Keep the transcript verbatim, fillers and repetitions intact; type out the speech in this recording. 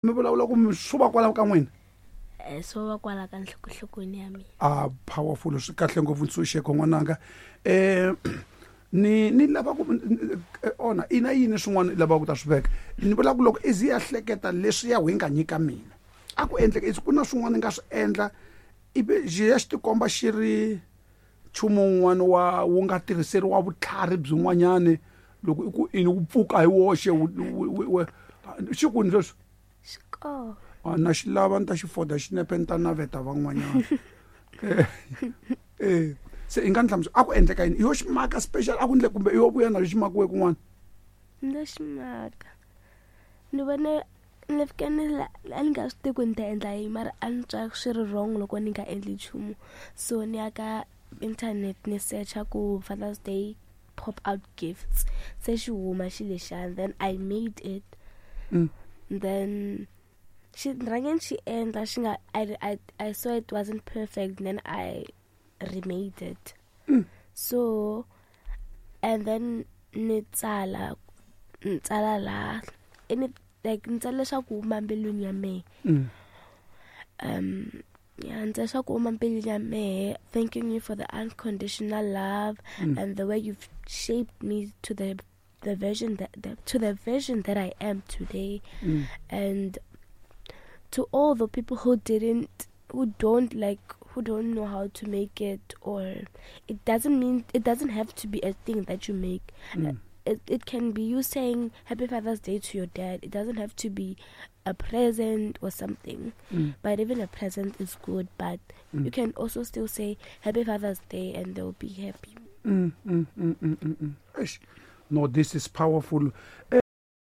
Mi vulavula ku mi swo va kwalaho ka n'wina? Eh, swo va kwala ka nhlokohlokweni ya mina. A powerful, swi kahle ngopfu, ntshunxeko n'wananga. um ni ni lava ku ona ina yini swin'wana i lavaka ku ta swi veka? Ni vula ku loko i zi ya hleketa leswi ya hi nga nyika mina, a ku endleka i ku na swin'wana i nga swi endla, ivi xi ya xi tikomba xi ri nchumu wun'wana wa wu nga tirhiseriwa vutlhari byin'wanyani, loko i ku ini wu pfuka hi woxe xi kwini sweswi? Xi kona. A na xi lava, ni ta xi foda xinepe, ni ta naveta van'wanyana. Eh, se i nga ni hlamusela a ku endleka yini? Yo xi maka special a ku endle, kumbe yo vuya na xi makiwe kun'wana? Ndo xi maka, ni vone ni fike ni a ni nga swi tivi ku ni ta endla yini, mara a ni twa swi ri wrong loko ni nga endli nchumu, so ni ya ka internet, ni searcha ku Father's Day pop out gifts, se xi huma xi lexiyani, then I made it. Mm. Then xi rhange ni xi endla, xi nga I, I, I saw it wasn't perfect, then I remade it. Mm. So and then ni tsala ni tsala laha ni like ni tsala leswaku huma mbilwini ya mehe. Mm. um yeah, ni tsala leswaku huma mbilwini ya mehe, thanking you for the unconditional love Mm. and the way you've shaped me to the the version that the, to the version that I am today. Mm. And to all the people who didn't, who don't like, who don't know how to make it, or it doesn't mean, it doesn't have to be a thing that you make. Mm. It, it can be you saying Happy Father's Day to your dad. It doesn't have to be a present or something. Mm. But even a present is good. But Mm. you can also still say Happy Father's Day and they'll be happy. Mm, mm, mm, mm, mm, mm. Eish. No, this is powerful. Eh,